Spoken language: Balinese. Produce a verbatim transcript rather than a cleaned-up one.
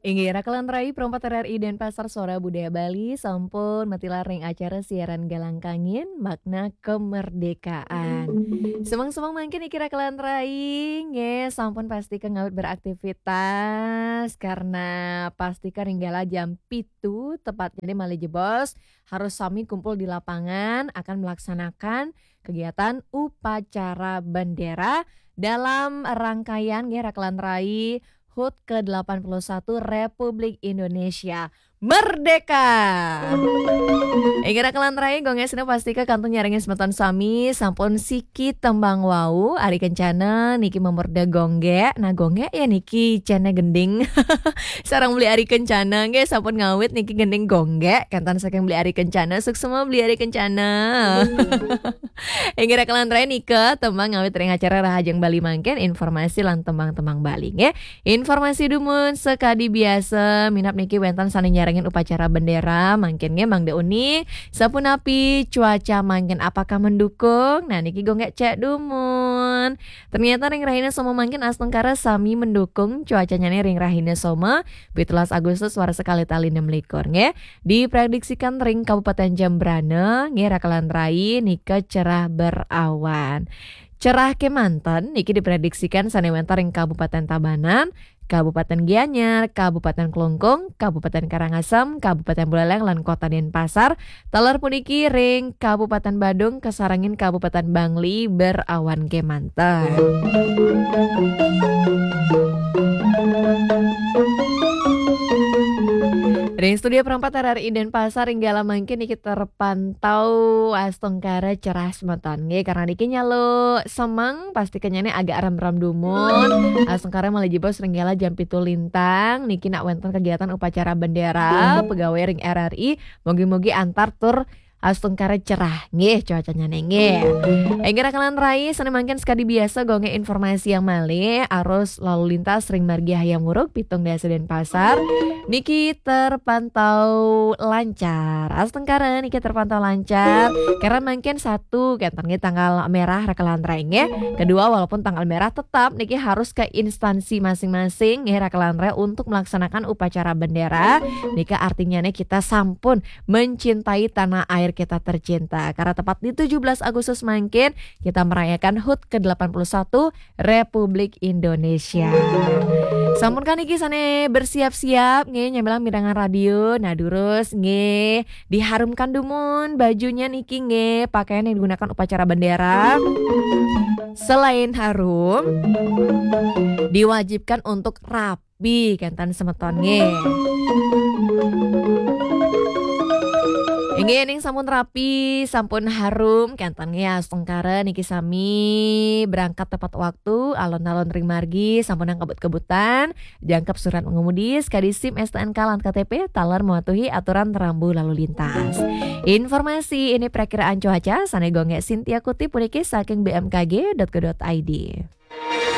Inggih, rakelan rai, perempat R R I Denpasar, Suara Budaya Bali, sampun matilar ring acara siaran Galang Kangin, Makna Kemerdekaan. Semeng-semeng mangkin niki rakelan rai, nggih, sampun pastika ngawit beraktivitas, karena pastika ring galah jam pitu, tepatnya malih jebos, harus sami kumpul di lapangan, akan melaksanakan kegiatan upacara bendera dalam rangkaian, nggih, rakelan rai, hut kedelapan puluh satu Republik Indonesia Merdeka. Inggih, rakelan rai, Gung Ges pastika kantun nyarengin semeton sami, sampun siki tembang wau, Ari Kencana niki mamurda Gung Ges. Nah, Gung Ges ya niki cana gending. Sareng Beli Ari Kencana, nggih, sampun ngawit niki gending Gung Ges, kantan saking Beli Ari Kencana, suksma Beli Ari Kencana. Inggih, rakelan rai, nika tembang ngawit ring acara Rahajeng Bali mangkin, informasi lan tembang-tembang Bali, nggih. Informasi dumun sakadi biasa, minab niki wénten sané nyarengin upacara bendera, mangkin nggih, Mangda Uni, sapunapi cuaca mangkin, apakah mendukung? Nah, niki Gung Ges cek dumun. Ternyata ring rahina Soma mangkin astungkara sami mendukung, cuacanya nih ring rahina Soma, pitulas Agustus warsa kalih tali enam likur, nggih. Diprediksikan ring Kabupaten Jembrana, nggih, rakelan rai, nika cerah berawan. Cerah kemanten niki diprediksikan sané wénten ring Kabupaten Tabanan, Kabupaten Gianyar, Kabupaten Klungkung, Kabupaten Karangasem, Kabupaten Buleleng, lan Kota Denpasar. Taler puniki ring Kabupaten Badung, kasarengin Kabupaten Bangli berawan kemanten. Ring studio perempat R R I Denpasar, ring galah mangkin niki terpantau astungkara cerah semeton, nggih, karena niki nyalo semeng, pastika nyané agak rem-rem dumun. Astungkara malih jebos ring galah jam pitu lintang, niki nak wénten kegiatan upacara bendera pegawai ring R R I, mugi-mugi antar tur astungkara cerah, nggih, cuacanya nih, nggih. Inggih, rakelan rai, sané mangkin sakadi biasa, Gung Ges informasiang malih, arus lalu lintas ring margi Hayam Wuruk, Pitung Dasa Denpasar niki terpantau lancar. Astungkara niki terpantau lancar. Karena mangkin satu, kénten nggih, tanggal merah, rakelan rai, nggih. Kedua, walaupun tanggal merah, tetap niki harus ke instansi masing-masing, nggih, rakelan rai, untuk melaksanakan upacara bendera. Nika artinya nih, kita sampun mencintai tanah air kita tercinta. Karena tepat di tujuh belas Agustus mangkin, kita merayakan hut kedelapan puluh satu Republik Indonesia. Sampun kan niki sané bersiap-siap, nggih, nyamilang mirengang radio. Nah, durus, nggih, diharumkan dumun bajunya niki, nggih, pakaian yang digunakan upacara bendera. Selain harum, diwajibkan untuk rapi, kénten semeton, nggih. Inggih, ning sampun rapi, sampun harum, kénten nggih, astungkara niki sami berangkat tepat waktu, alon-alon ring margi, sampun angkebut-kebutan, jangkep surat mengemudi, sakadi SIM, STNK, lan KTP, taler mematuhi aturan rambu lalu lintas. Informasi ini perakiraan cuaca, sané Gung Ges Sintia kutip puniki saking B M K G dot co dot I D.